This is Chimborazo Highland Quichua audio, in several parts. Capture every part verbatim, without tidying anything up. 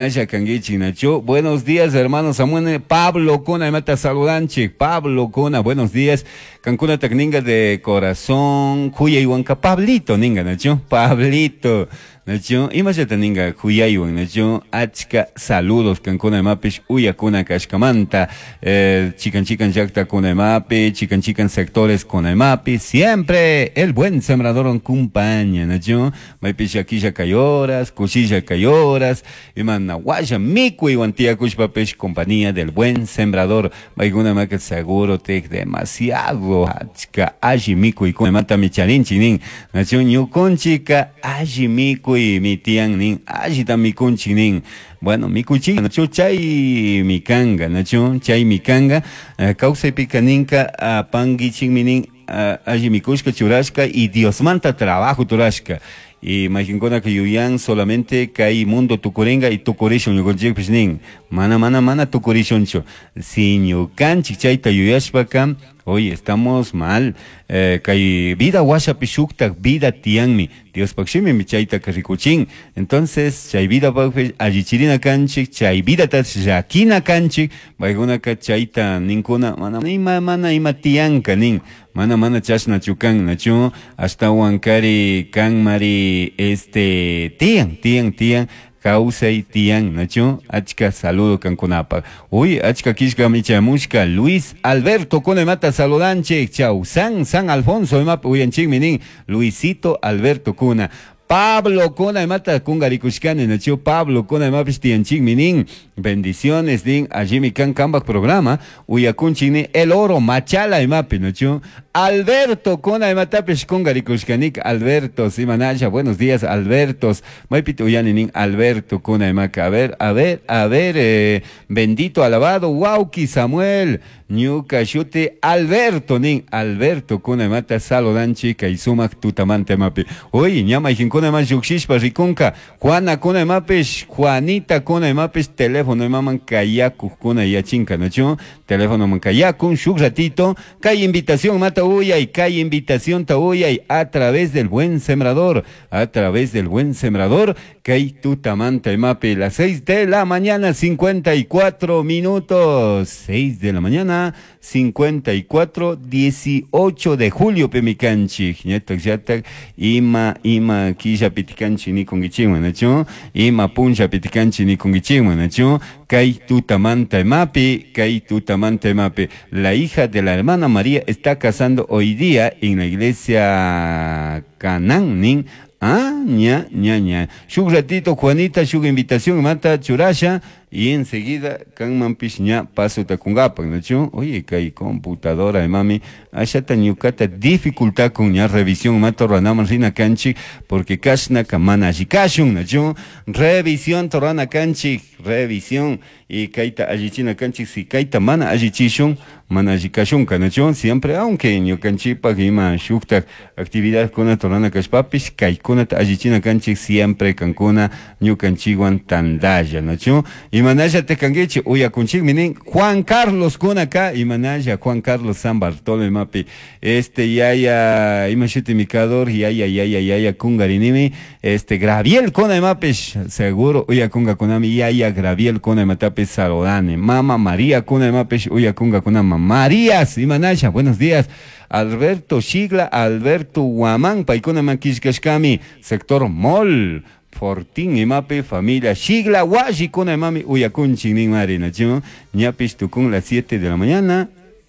Nacho. Buenos días, hermano Samuel. Pablo Cuna, imata saludanchik. Pablo Cuna, buenos días. Kankuna ninga de corazón. Juyaywanka Pablito ninga, Nacho. Pablito. Nacho, imallata ninga juyaywan, Nacho. Achka saludos kankuna imapish uyakuna kashkamanta. Eh, chikan chikan llakta kuna imapi, chikan chikan sectores kuna imapi. Siempre el buen sembrador acompaña, Nacho. Maypish akilla kay horas, kushilla kay horas. Imana waya mikuywan tiyakushpapish compañía del buen sembrador. Maykuna maka seguro te demasiado achka alli mikuykuna mata micharinchik nin. Nacho, ñukunchika alli mikuy mi tiyan nin, allita mikunchik nin. Bueno, mikuchik, nacho, chay mikanga, nacho, chay mikanga, uh, kawsaypika ninka apankichikmi nin, uh, alli mikushka churashka y Diosmanta trabajo turashka. Y mayqinkunaka yuyan solamente kay mundo tukuringa y tukurishun ñukanchikpish nin. Mana, mana, mana tukurishunchu. Si ñukanchik chayta yuyashpaka, hoy estamos mal. Eh, kay vida washapi shuktak vida tiyanmi. Diospaq shimimi chaytaka rikuchin. Entonces, chay vida pakpish allichirina kanchik, chay vidata llakina kanchik, paykunaka chayta ninkuna, mana ima, mana ima tiyanka nin. Mana, mana chashnachu kan, nachu, ashtawan kari kanmari este tiyan, tiyan, tiyan, kawsay tiyan, nachu, achka saludo kankunapaq. Uy, achka kishka michamushka, Luis Alberto kuna imata saludanchik, chau, San, San Alfonso imapi uyanchikmi nin, Luisito Alberto kuna. Pablo kuna imata kungarikushkani, nachu, Pablo kuna imapish tiyanchikmi nin, bendiciones nin, allimi kan kambak programa, uyakunchik nin, El Oro Machala imapi, nachu, Alberto kuna imatapish kungarikushkanik, Alberto, simanalla, buenos días, Albertos, maypita uyani nin, Alberto kuna imaka, a ver, a ver, a ver, eh, bendito, alabado, wauki Samuel, ñuka shuti Alberto nin, Alberto kuna imata saludanchik, kay sumak tutamanta imapi, uy, ña mayqinkuna ima llukshishpa rikunka, Juana kuna imapish, Juanita kuna imapish, teléfono imaman kayakuqkuna yachinka, nachu, teléfono man kayakun, shuk ratito, kay invitación mata uyay, kay invitación ta uyay, a través del buen sembrador, a través del buen sembrador, kay tutamanta imapi, las seis de la mañana, cincuenta y cuatro minutos, seis de la mañana, cincuenta y cuatro, dieciocho de julio, pemikanchik, ñatak, yatak, ima, ima, killa pitikanchik nikunkichikman, nachu, ima punlla pitikanchik nikunkichikman, nachu, kay tutamanta imapi, kay tutamanta imapi. La hija de la hermana María está casando hoy día en la iglesia Canán, nin. Ah, ña, ña, ña. Shuk ratito, Juanita, shuk invitación, mata churasha, y enseguida, kanmanpish ña paso takungapak, nachu? Oye, kay computadora, mami, ashata ñukata dificultad con ña revisión, mata ranaman rina kanchik, porque kashna kamana allikashun, nachu? Revisión torana kanchik, revisión, y kayta allichina kanchik, si kayta mana allichishun, mana allikashunka, nachu? Siempre, aunque ñukanchikpak ima shuktak actividad kuna torana kashpapish, kaykunata allichina kanchik, siempre kankuna ñukanchikwan tandalla, nachu? Imanalla te kanguichi, uyakunchikmi nin, Juan Carlos kunaka, imanalla Juan Carlos San Bartolo imapi, este yaya, imashuti mikador, yaya, yaya, yaya, kungarinimi, este Graviel kuna imapish, seguro, uyakunga kunami, yaya Graviel kuna imatapi saludani, mama María kuna imapish, uyakunga kunama, Marías, imanalla, buenos días. Alberto Shigla, Alberto Guamán, paikuna makishkashkami, sector Mol, Fortín imapi, familia Shigla, Washi, kuna imami, uyakunchik nin mari, nachu, ñapish tukun las siete de la mañana,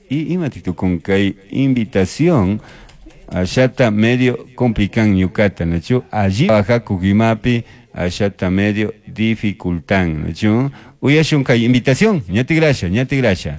y imati tukun kay invitación, allata medio complican ñukata, nachu, allí baja imapi, allata medio dificultan, nachu, uyashun kay invitación, ñati gracia, ñati gracia.